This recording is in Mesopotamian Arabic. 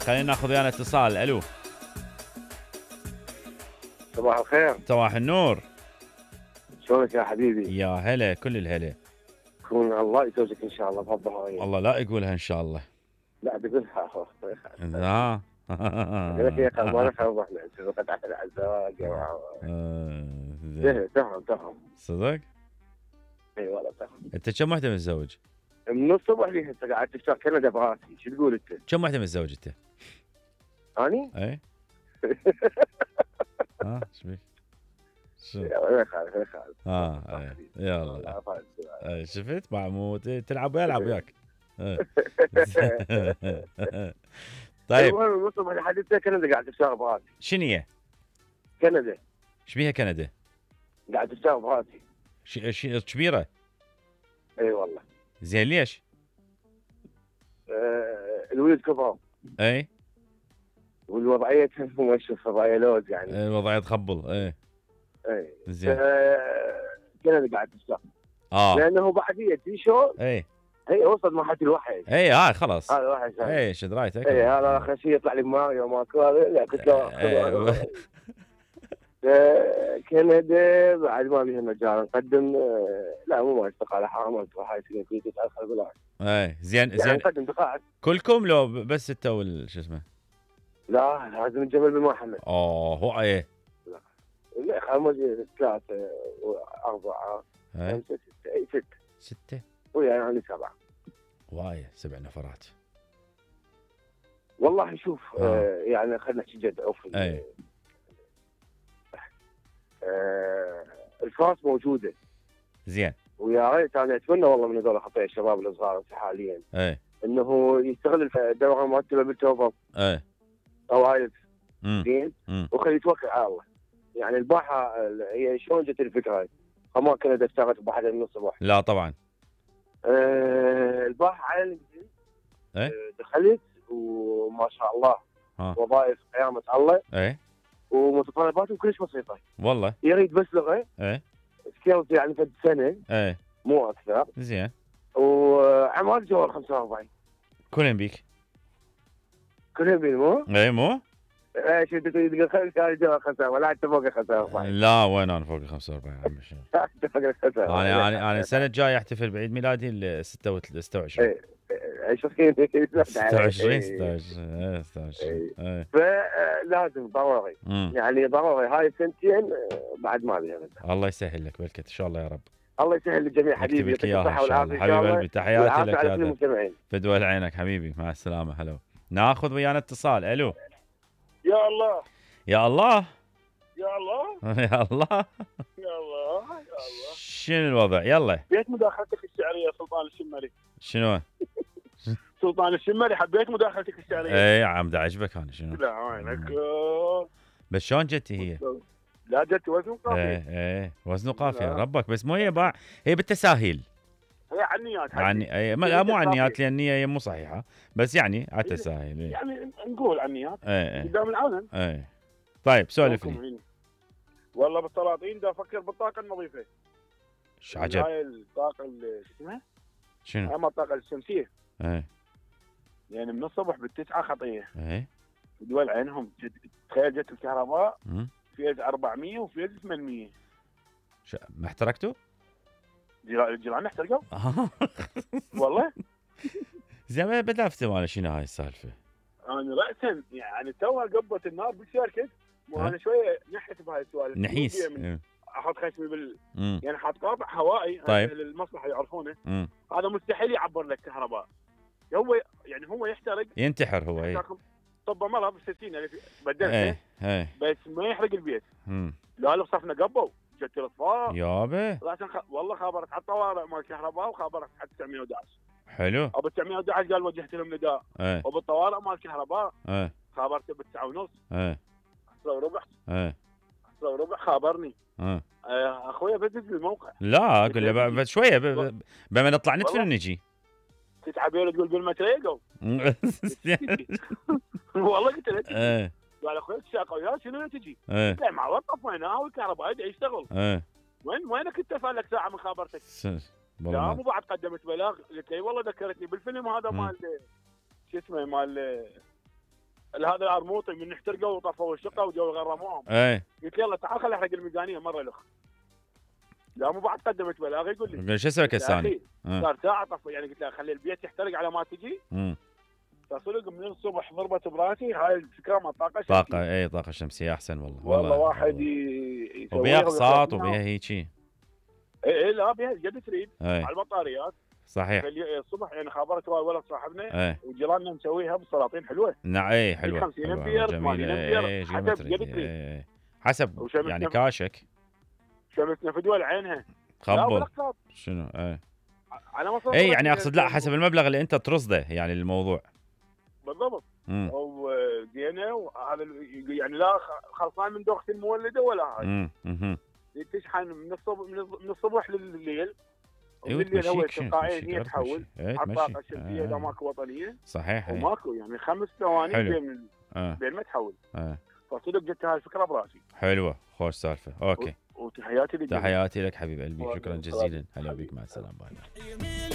خلينا ناخذ ويانا اتصال. الو صباح الخير. صباح النور. شلونك يا حبيبي؟ يا هلا كل الهلا. كون الله يزوجك ان شاء الله بهالظهريه. الله لا يقولها ان شاء الله. لا بقولها ها اقول لك يا اخي ما نخرب احنا نسوي على الزواج. تفهم صدق؟ اي والله تفهم. انت كم وحده متزوج؟ من الصبح لي هسه قاعد تشتغل كندا براسي. شو تقول انت؟ كم وحده متزوج انت؟ اني؟ اي ها ايش بيك؟ شو؟ يلا خالد يلا شفت محمود تلعب ويلعب وياك. طيب المهم من الصبح لحد كندا قاعد تشتغل براسي. شنو هي؟ كندا. ايش بيها كندا؟ قاعد تشتغل براسي. كبيره؟ اي والله. زين ليش؟ الولد كبر. اي والوضعيه مشرف وضعيه لوز يعني. الوضعيه تخبل. اي زين. كندا قاعد تشتغل. لانه بعديه تي شو. هي وصل مرحله الوحي. اي خلاص. هذا وحي. اي شد رايتك. اي هذا اخر شيء يطلع لي ماريو ماكو هذا. لا قلت له كندا بعد ما بيها مجال نقدم. لا مو ما استقاله حرام انت هاي سنين كنت تدخل بالعكس. زين يعني نقدم دقائق كلكم لو بس انت شو اسمه؟ لا لازم الجبل بن محمد. هو ايه؟ لا خمس 3 4 5 6 اي 6 ويا يعني 7. وايه 7 نفرات. والله شوف يعني خلينا نحكي جد عوف. الفرص موجوده. زين. ويا ريت انا اتمنى والله من هذول خطايا الشباب الصغار حاليا انه يستغل الدوره المرتبه بالتوفر. طوائف. زين. وخلي يتوكل على الله. يعني الباحه هي شلون جت الفكره؟ ما كنت اشتغلت بواحده من الصبح. لا طبعا. الباحه على لينكدين. دخلت وما شاء الله وظائف قيامه الله. ومتطلباتهم كلش بسيطه. والله. يريد بس لغه. سكيلز يعني فد سنه. مو اكثر. زين. وعمال جوال 45. كلهم بيك. كلهم بيك مو؟ مو؟ شو تقول خلي جوال 45 ولا انت فوق 45؟ لا وين انا فوق 45 عمي شو؟ انت فوق 45. انا السنه الجايه احتفل بعيد ميلادي ال 26. 26 فلازم ضروري. يعني ضروري هاي السنتين بعد ما بيها. الله يسهل لك بالكت ان شاء الله يا رب. الله يسهل للجميع حبيبي. يعطيك الصحه والعافيه حبيب قلبي. تحياتي لك يا هذا فدوى عينك حبيبي. مع السلامه. هلا ناخذ ويانا اتصال. الو يا الله يا الله يا الله يا الله يا الله شنو الوضع؟ يلا حبيت مداخلتك الشعريه سلطان الشمري. شنو؟ سلطان الشمري حبيت مداخلتك الشعريه. اي عم دا عجبك انا شنو؟ لا وينك بس شلون جتي هي؟ لا جت وزن قافيه. ايه وزن قافيه ربك. بس مو هي هي بالتساهيل. هي عنيات لا مو عنيات لان هي مو صحيحه. بس يعني على التساهيل. يعني نقول عنيات قدام العالم. طيب سولف لي. والله بالسلاطين دا افكر بالطاقه النظيفه. ايش عجب؟ هاي الطاقه اللي اسمها شنو؟ اما الطاقه الشمسيه. يعني من الصبح بالتسعه خطيه. دول عينهم تخيل جت الكهرباء فيز 400 وفيز 800. ما احترقتوا؟ الجيران احترقوا؟ والله زين بدافتوا مال شنو هاي السالفه؟ انا راسا يعني توها قبت النار بالشركه. وانا شويه نحت بهاي السوالف. نحيس. احط خشمي يعني حاط قاطع هوائي. طيب. المصلحه يعرفونه. هذا مستحيل يعبر لك كهرباء. هو يحترق. ينتحر هو. طب مرة بالستين يعني بدلته. بس ما يحرق البيت. لا صفنا قبوا جت الاطفاء يابا. والله خابرت على الطوارئ مال الكهرباء وخابرت على 911. حلو. ابو 911 قال وجهت لهم نداء. وبالطوارئ مال الكهرباء خابرته ب9:30. 10:15. خابرني. اخويا بدز الموقع. لا اقول له بعد شويه بما نطلع ندفن ونجي. تتعبي تقول بالمتريقو. والله قلت له قال اخوي الشاقه وياه شنو تجي؟ لا مع وقف وينها والكهرباء يدعي يشتغل. وينك انت صار لك ساعه من خابرتك؟ لا مو بعد قدمت بلاغ. قلت لي والله ذكرتني بالفيلم هذا مال شو اسمه مال هذا الارموطي من احترقوا وطفوا الشقه وجو غرموهم. قلت يلا تعال خلي احرق الميزانيه مره الاخ. لا مو بعد قدمت بلاغ يقول لي شو اسوي كساني؟ صار ساعه طفى يعني قلت له خلي البيت يحترق على ما تجي. فصدق من الصبح ضربت براسي هاي الفكره ما طاقه شمسيه. طاقه طاقه شمسيه احسن والله واحد يسوي وبيها اقساط وبيها هيجي. اي لا بيها قد تريد على البطاريات. صحيح. الصبح يعني خابرت ولد صاحبنا وجيراننا مسويها بالسلاطين حلوه. نعم اي حلوه 50 امبير 80 امبير حسب قد تريد. حسب يعني كاشك. شمسنا في دول عينها. خبل شنو على مصر يعني اقصد لا حسب المبلغ اللي انت ترصده يعني للموضوع. بالضبط. وزينه وهذا يعني لا خلصان من دوخه المولده ولا هاي. تشحن من الصبح لليل. وبالليل هو تلقائيا هي تحول على الطاقه الشمسيه اذا ماكو وطنيه. صحيح. وماكو يعني 5 ثواني بين ما تحول. فصدق جت هاي الفكره براسي. حلوه خوش سالفه. اوكي. وتحياتي لك. تحياتي لك حبيب قلبي. شكرا جزيلا. هلا بيك مع السلامه. باي.